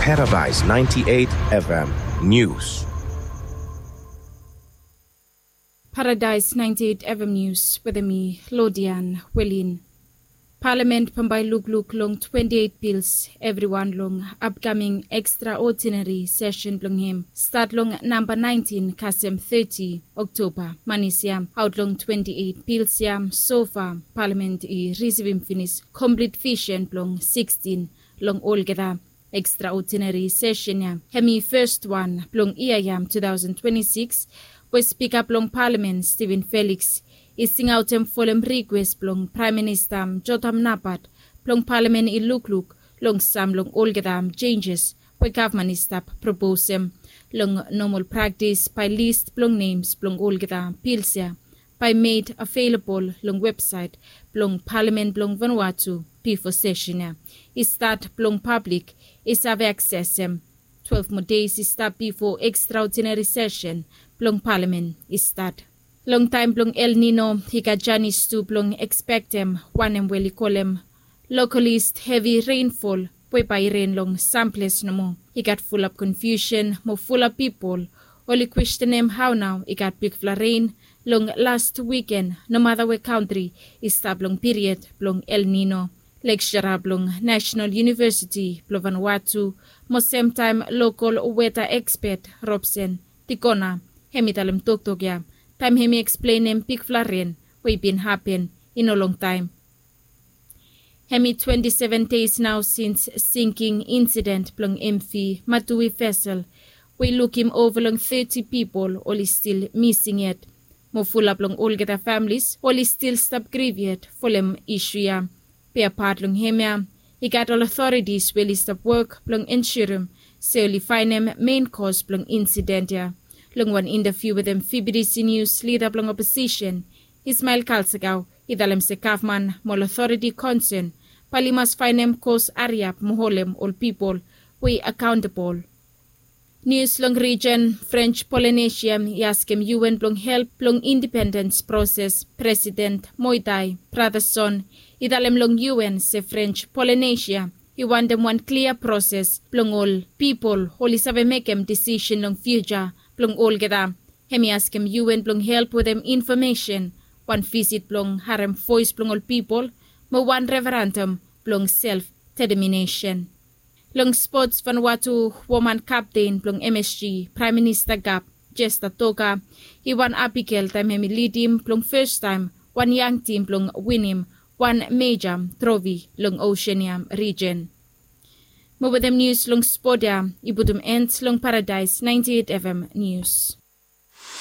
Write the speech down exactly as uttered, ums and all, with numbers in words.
Paradise ninety-eight F M News. Paradise ninety-eight F M News wetem mi, Lodian Welin. Palamen bambae lukluk long twenty-eight bils evriwan long apkaming extraordinary session blong hem stat long namba nineteen kasem thirty Oktoba. Manis ya, aot long twenty-eight bils ya, sofa Palamen i risivim finis komplit visen blong sixteen long olgeta extraordinary session ya. Hem i fes wan blong yia ya two thousand twenty-six we Spika blong Palamen Steven Felix i singaotem folem rikwes blong Praem Minista Jotham Napat blong Palamen i lukluk long sam long olgeta senjes we gavman i stap proposem long nomol praktis bae lis blong nems blong olgeta bils ya bae med avelabol long websaet blong Palamen blong Vanuatu bifo seshen ya i stat blong pablik i save aksesem twelef moa deis i stap bifo ekstraodinari seshen blong Palamen i stat. Long taem blong El Nino i gat janis tu blong ekspektem wanem we oli kolem lokalis hevi renfol we bae i ren long sam ples nomo. I gat fulap konfiusen mo fulap pipol oli kwestenem hao nao i gat bigfala ren long las wiken nomata we kantri i stap long piried blong El Nino. Leksora blong Nasenal Yunivesiti blong Vanuatu mo semtaem lokol weta ekspet Robson Tikona hem i talem toktok ya taem hem i eksplenem bigfala ren we i bin hapen i no longtaem. Hem i twenti seven deis nao sins singking insident blong M V Matui vesel we i lukim ova long teti pipol oli stil mising yet. Mo fulap long olgeta familis oli stil stap griv yet folem isu ya. Be apat long hemia i gat ol otoritis we oli stap wok blong ensurem se oli faenem men kos blong insident ya. Long wan intaviu wetem V B D C News, lida blong oposisen Ismael Kalsakau i talem se gavman mo ol otoriti konsen bae oli mas faenem kos hariap mo holem ol pipol we i akaontabol. Nius long rijen. Frenj Polinesia i askem U N blong help blong indipendens proses. Presiden Moitai Brotherson i talem long U N se Frenj Polinesia i wantem wan klia proses blong ol pipol oli save mekem disisen long fiuja blong olgeta. Hem i askem U N blong help wetem infomesen, wan visit blong harem voes blong ol pipol mo wan referandam blong self deteminesen. Long spots, Vanuatu woman kapten blong M S G, Praem Minista Gap Jesta Toka, i wan Abigail taem hem i lidim blong fes taem wan yang tim blong winim wan meja trofi long Osean ya rijen. Mo wetem nius long spot ya i putum en long Paradaes ninety eight F M Nius.